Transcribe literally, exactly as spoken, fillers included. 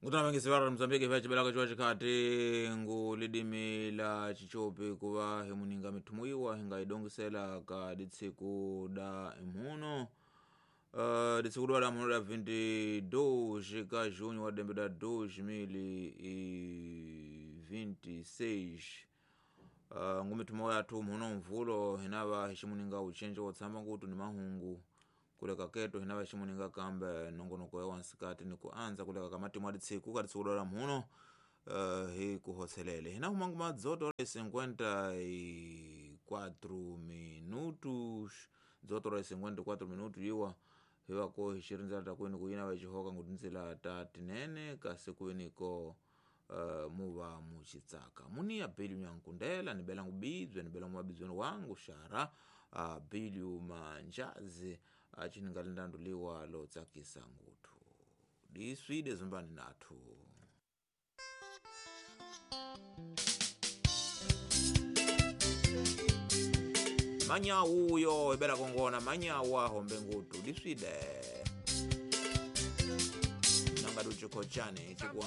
Ngutana Mozambique vya chibelaka chiwa chikhati ngu lidimi la chichopi kuva himuninga mithumuiwa hingaidongisela ka ditsiku da imhuno uh, ditsiku da mhuno da vinte e dois ka junho wa dembe da dois mil e vinte e seis. uh, ngumithumo yathu mhuno mvulo hinava hiximuninga uchenje wotsamba ngutu ni mahungu kuleka keto hinava hiximuninga kambe nongonoko ya wansikati ni kuanza kuleka ka matimu a ditsiku ka ditsiku da mhuno uh, hi kuhotselele hina humangu madzoto cinquenta e quatro minutos, dzoto ra cinquenta e quatro minutos iwa hivako hixirindzela ta kwini ku yina va xihoka ngutindzila ta tinene kasi kwiniko uh, muva muxitsaka muniya Bilio Nyankundela ni bela ngubibye ni bela mumabidzweni wangu xara uh, Bilio Manjazi acininga lindandu liwa lotsakisa nguthu diswide zumbani nathu. Manyawu uyo ibela kongona manyawu ahombe ngutu diswide nanga duchikochane chikuwa.